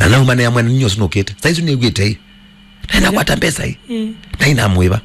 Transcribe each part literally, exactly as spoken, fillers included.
Na nauma nĩa mwene, ninyie ũsu nũkĩte. Saa isu nĩw'ĩte ĩ. Nenda kwata mbesa ĩ. Mm. Na inamwĩva.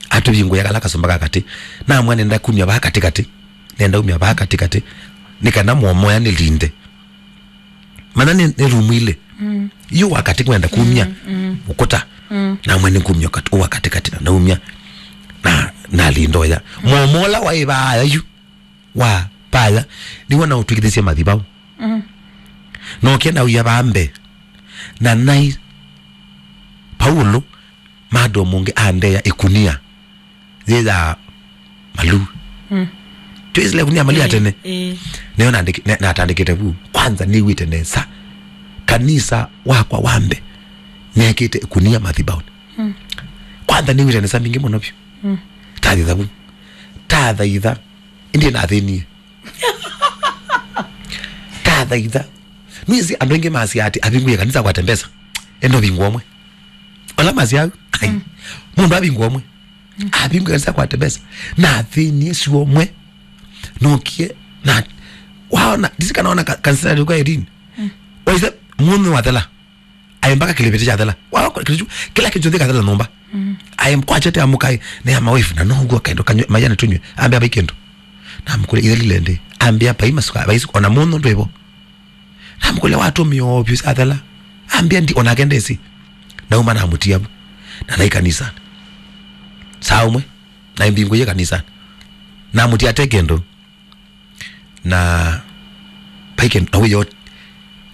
Atũvingũĩa kala kasũmba ka katĩ. Namwĩa nenda kumya vaa katĩkatĩ. Nenda umya vaa katĩkatĩ. Nĩ kana mwomoya nĩlinde. Mana nĩ, nĩ rumu ilĩ. Mm. Yu wa katĩ kwenda kumya. Mm, mm. Ũkũta. Mm. Namwĩa nĩngumya ũkat-, wa katĩkatĩ na naumya. Na, nalinda ũya. Mwomola waĩ vaa yu. Wa paya, nĩw'o naũtw'ĩkĩthisye mathibau. Mm. Nokie nauya vaa mbee, na nai Paulo, madam ũngĩ andeea ĩkunia yĩ ya maluu. Mm. Twĩsĩla ĩkunia ya maluu ya tene. Ĩĩ. Nĩyo nandĩki-, na-, natandĩkĩte vu. Kwanza nĩw'ĩte nesa. Kanisa wakwa wa mbee, nĩekĩte ĩkunia mathibaunĩ. Mm. Kwanza nĩw'ĩte nesa mbingĩ mũno vyũ. Mm. Tathaitha vu. Tathaitha. Ĩndĩ nathĩnie. Tathaitha. Nĩsĩ andũ aingĩ masya atĩ avingũie kanisa akwate mbesa. Enda ũvingũa ũmwe. Ola masya au, ai. Mm. Mũndũ avingũa ũmwe. Mm. Avingũie kanisa akwate mbesa. Nathĩnie sua ũmwe. Nokie, na, waona, ndisi kana ona ka-, kanisa yalikuwa Irene. Mm. Waise, mũndũ wathela. Aĩ mpaka kĩlĩvĩtĩ kyathela. Wa, kĩlĩvĩtĩ, kĩla kĩngĩ kyathela nyũmba. Mm. Aĩ kwachete amukai, nĩ ya mawife, na no ũguo kendo kanywe, mayana tunywe. Ambĩa vai kĩndũ. Namũkũlya, "Ithe lile ndi?" Ambĩa, "Vai masuka, vai suka, ona mũno ndwĩvo." Namũkũlya, "Watũmĩa ovyu syathela?" Ambĩa, "Ndi, onake ndĩsĩ." Nauma namũtia vu. Na nai kanisa. Saa ũmwe, na mbingũie kanisa. Namũtia ate kĩndũ. Na paike na wĩyo,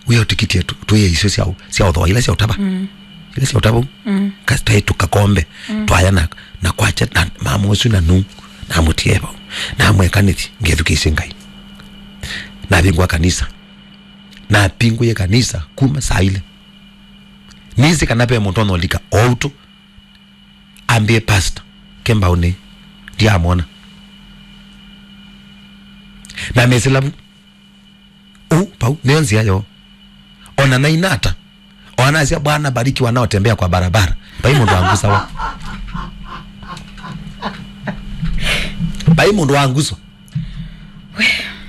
wĩyo tikiti yetu, twĩe icio sya, sya ũthoa, ila sya ũtava. Mm. Ila sya ũtava. Mm. Kasi twaĩ tũkakombe, mm, twaya na, na kwacha, na mama ũsu na nu, na mũtieva. Na mweka nĩthi, ngethukĩisye Ngai. Na vingwa kanisa. Na pingũie kanisa kuma saa ile. Nĩsĩ kana ve mũndũ onolika o ũtũ. Ambie pastor, ke mbaũnĩ, ndiamwona. Na mesĩla vu. Ũu, pau, nĩyo nzĩa yoo. Ona nainata. Ona nasya, "Bwana, bariki wanaotembea kwa barabara." Vai mũndũ wangusawa. Vai mũndũ wanguswa.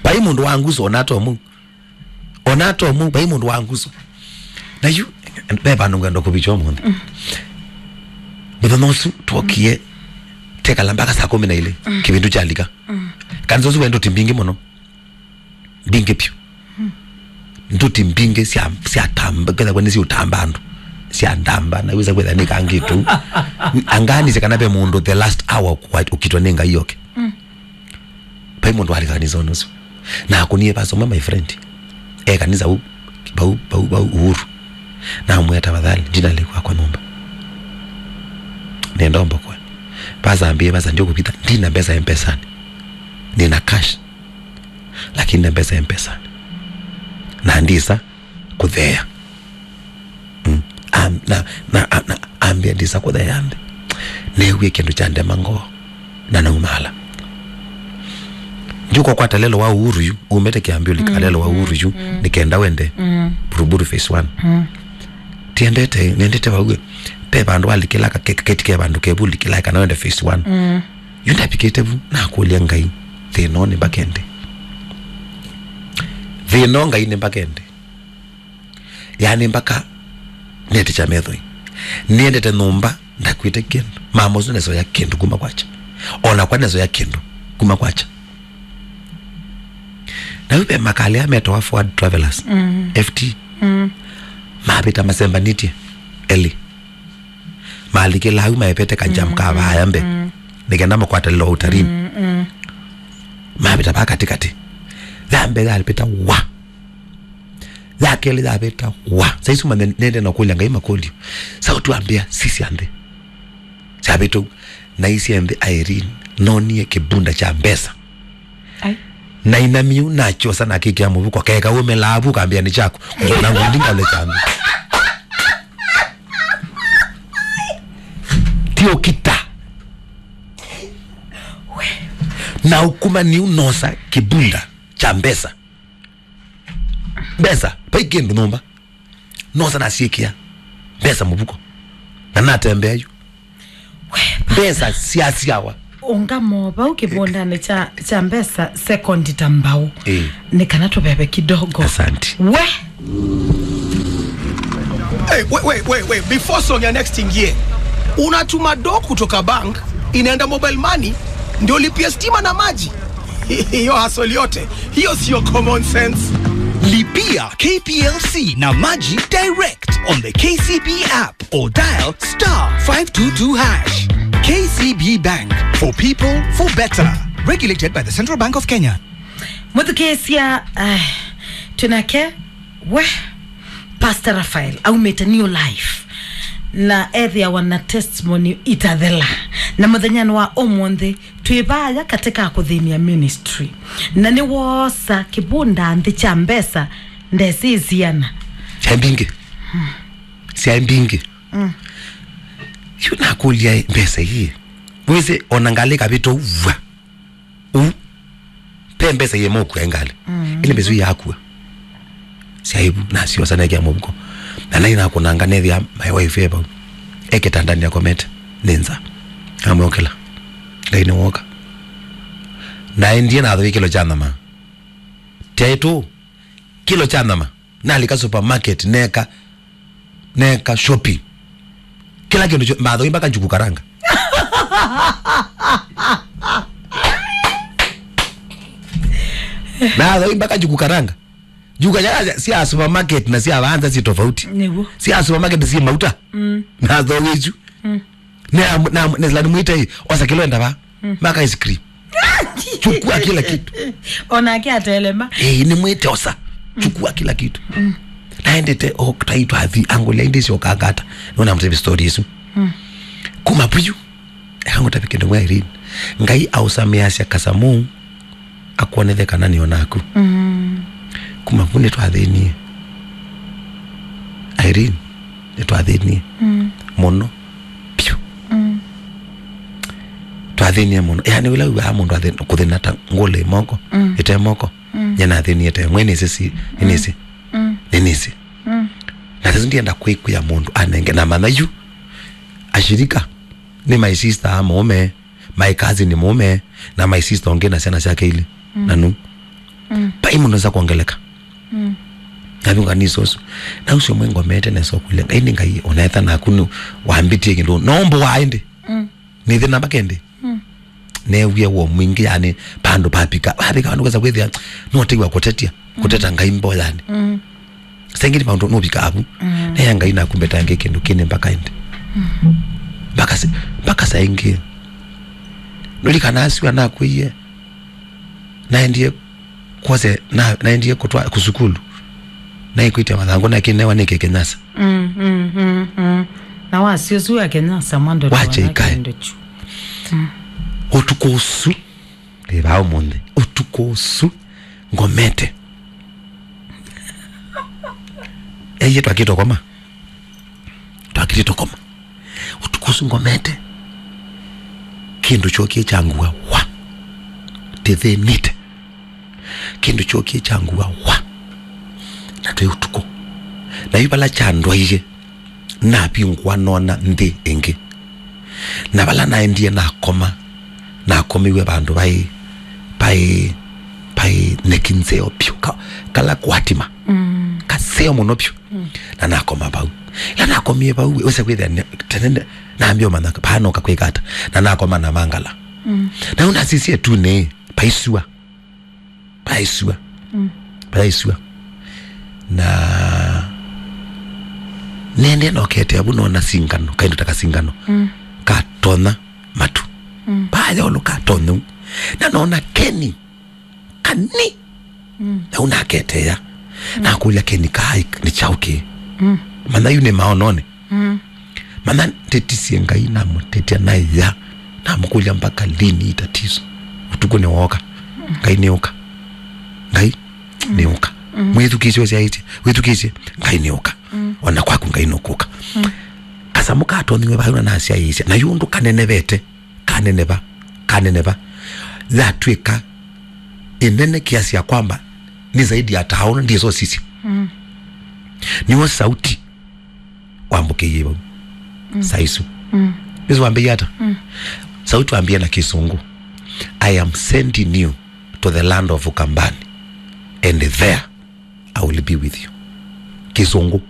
Vai mũndũ wanguswa, ona atomu. Ona atomu, vai mũndũ wanguswa. Na yu, ve vandũ ngwenda kũvikya ũmũnthĩ. Mm. Mũthenya ũsu twokie, tekala mpaka saa kũmi na ilĩ, mm, kĩvindu kyalika. Mm. Kanisa ũsu wĩ nduti mbingĩ mũno. Mbingĩ vyũ. Mm. Nduti mbingĩ sya, sya tamba, kethĩwa nĩ siũtamba andũ. Sya ndamba, na wĩsa kwĩtha nĩ kangĩtu. Anganĩsye kana ve mũndũ the last hour kwa-, ũkitwa nĩ Ngai oke. Mm. Vai mũndũ walĩ kanisonĩ ũsu. Na akũnie pastor ũmwe, my friend. E kanisa u, vau, vau, vau Uhuru. Na amwĩa, "Tafadhali, ndina lĩkwakwa nyũmba. Nenda ũmbokwe." Pastor ambie, "Pastor, ndiũkũvitha, ndina mbesa Mpesani. Nina cash. Lakini nina mbesa Mpesani. Na ndisa kũtheea." Mm. Am-, na, na, na, na ambĩa ndisa kũtheea nthĩ. Neewie kĩndũ kya ndema ngoo. Na naumaala. Ndyũka kwata lelo wa Uhuru yu, umete Kĩambi ũlika, mm, lelo wa Uhuru yu, mm, nĩ kenda wende. Mm. Buruburu phase one. Mm. Tiendete, nendete vau. Pe vandũ walikĩla ka ke-, keti ke vandũ kevu likĩla kana wende phase one. Mm. Yu ndavikĩte vu, nakũlya Ngai, thĩna ũũ nĩ mbakende. Thĩna ũũ Ngai nĩ mbakende. Yaani mpaka nĩetĩkya methoi. Nĩendete nyũmba, ndakwĩte kĩndũ. Mama ũsu nesoya kĩndũ kuma kwakya. Ona kwa nesoya kĩndũ kuma kwakya. Na yu ve makali aa metawa Forward Travelers, mm, F T. Mm. Mavĩta masembanĩtye elĩ. Malikĩla au maepete kajam, mm, ka vaya mbee. Mm. Nĩ kenda makwata lilo wa ũtarini. Mm, mm. Mavĩta vaa katĩkatĩ. Ya mbee yalipita wa. Ya kelĩ yavĩta wa. Saa isu manya nende na kũlya Ngai makũlyo. Sauti wambĩa, "Sisya nthĩ." Syavĩtũ. Naisye nthĩ, Irene, nonie kĩbunda kya mbesa. Ai. Nainamia nakyosa nakĩkĩa mũvuko. Keka ũmelaa vu kambĩa nĩ kyaku. Ngona ngundi ngaũlekya nthĩ. Ti ũkita. Na ũkuma niu nosa kĩbunda kya mbesa. Mbesa, vai kĩndũ nyũmba. Nosa nasyĩkĩa mbesa mũvuko. Na natembea yu. Mbesa syasyawa. Ũngamo vau kĩvũndanĩ kya, kya mbesa sekondi ta mbaũ. Ĩĩ. Nĩ kana tũveve kidogo. Asante. We! Hey, wait, wait, wait, wait. Before song ya next ingie, unatuma do kutoka bank inaenda mobile money ndio lipia stima na maji? Hiyo hassle yote hiyo sio common sense. Lipia K P L C na maji direct on the K C B app or dial star five two two hash. K C B Bank, for people, for better. Regulated by the Central Bank of Kenya. Mũthukĩĩsya, ai, twĩnake, we, Pastor Raphael aumĩte New Life na ethĩawa na testimony itathela. Na mũthenyanĩ wa ũmũnthĩ, twĩ vaya katika kũthĩnia ministry. Na nĩwoosa kĩvunda nthĩ kya mbesa, ndesĩ isiana. Syaĩ mbingĩ. Syaĩ mbingĩ. Mm. Yu nakũlya mbesa ii. Wĩsĩ ona ngalĩ kavĩta ũu vwa. Ũu. Pe mbesa yĩ mokua ngalĩ. Mm. Ĩndĩ mbesa ii yakua. Syaĩ vu, nasyosa nekĩa mũvuko. Na nai nakũnanga nethĩa my wife e vau. E kĩtandanĩ akomete. Nĩ nza. Amwokela. Ngai nĩ woka. Naendie nathũi kĩlo kya nyama. Tyaĩtũ. Kĩlo kya nyama. Nalika supermarket, neka, neka shopping. Kĩla kĩndũ kyo, mathoi mpaka njuku karanga. Mathoi mpaka njuku karanga. Njuku karanga sya supermarket na sya vanza si tofauti. Nĩguo. Sya supermarket si mauta. Mm. Mathoi isu. Mm. Na, na, na, na mwite, osa kĩlo enda va. Mm. Maka ice cream. Chukua kila kitu. Onake atelema. Eh, nĩ mwite osa. Chukua kila kitu. Mm. Naendete, o, tai twathi, angũlya indi sio kangata. Nona mtebi story isu. Mm. Kuma puyu. Ekangũtavi kĩndũ mwa Irene. Ngai ausameasya kasamu. Akwonethe kana nĩ onaku. Mm. Kuma vu nĩtwathĩnie. Irene, nĩtwathĩnie. Mm. Mũno. Piũ. Mm. Twathĩnie mũno. Yaani, wĩla wĩw'aa mũndũ athĩ-, kũthĩna ta ngũlĩ moko, mm, ĩte moko. Mm. Nyie nathĩnie te. Mwe nĩsĩ si, nĩnĩsĩ. Mm. Nĩnĩsĩ. Mm. Na sasa ndienda kwĩkwĩa mũndũ anenge na manya yu. Ashirika, nĩ my sister a mũũme. My cousin mũũme na my sister ũngĩ na syana syake ilĩ. Mm. Na nu. Mm. Vai mũndũ nza kwongeleka. Mm. Navinga nĩ sosu. Na ũcio mwe ngomete nesa kũlya. Ngai nĩ Ngai, onetha naku nĩ wambĩtie kĩndũ. No mbo wa ĩndĩ. Mm. Nĩ thĩna mpaka ĩndĩ. Mm. Newie wo mwingĩ, yani, pandũ papika. Papika, vandũ kwesa kwĩthĩa, no teiwa kũtetia. Mm. Kũteta Ngai mbo, yani. Mm. Saingĩ nĩ maũndũ nũvika avu. Mm. Nea Ngai naku mbetange kĩndũ kĩnĩ mpaka ĩndĩ. Mm. Mpaka sa-, mpaka saa ingĩ. Nũlikana asua nakwĩie. Naendie kwose, na, naendie kũtwa, kũsukulu. Naikwĩtya mathangũ na kĩnewa nĩkĩ kĩnyasa. Mm, mm, mm, mm. Na wasi ũsu wa kĩnyasa mwando. Wache ikae. Kĩndũ kyu. Mm. Ũtukũ ũsu. Ndĩ vaa ũmũnthĩ. Ũtukũ ũsu ngomete. Eye twakĩtwe koma. Twakĩtwe koma. Ũtukũ ũsu ngomete. Kĩndũ kyokie kyangua wa. Ndĩthĩnĩte. Kĩndũ kyokie kyangua wa. Na twĩ ũtukũ. Na yu vala kyandwaie. Navingũa nona nthĩ ĩngĩ. Na vala naendie nakoma, nakomiw'e vandũ vai, vai, vai nyeki nzeo vyũ, ka-, kala kwatima. Mm. Kaseo mũno vyũ. Mm. Na nakoma vau. Ĩla nakomie vau, wĩsa kwĩthĩa ne-, tene ne-, nambia ũmanya vaa noka kwĩka ata. Na nakoma na mangala. Mm. Na yu nasisie tu nĩ, vaisua. Vaisua. Mm. Vaisua. Na nende nokete avu nona singano, kaindo ta kasingano. Mm. Katonya matu. Mm. Vaya olo katonya u. Na nona keni. Kani. Mm. Na unaketea. Mm. Nakulia keni kai ni chauke. Mm. Mana yu ni maonone. Mm. Mana ndetisie Ngai, namũtetia na ya, namũkũlya mpaka lini ii tatizo. Ũtukũ nĩwooka. Ngai nĩũka. Ngai nĩũka. Mm. Mwĩthukĩĩsye ũsyaĩtye. Wĩthukĩĩsye. Ngai nĩũka. Mm. Ona kwaku Ngai nũkũka. Mm. Kasamũ katonyiwe vau na nasyaĩĩsya. Na yu ũndũ kanenevete. Kaneneva. Kaneneva. Yatw'ĩka ĩnene kiasi ya kwamba ni zaidi ya taona ndiye sosisya. Mm. Niwo sauti wambũkĩie vau. Mm. Saa isu. Mm. Yesu wambĩie ata? Mm. Sauti wambĩie na Kĩsũngũ, "I am sending you to the land of Ukambani, and there I will be with you." Kĩsũngũ.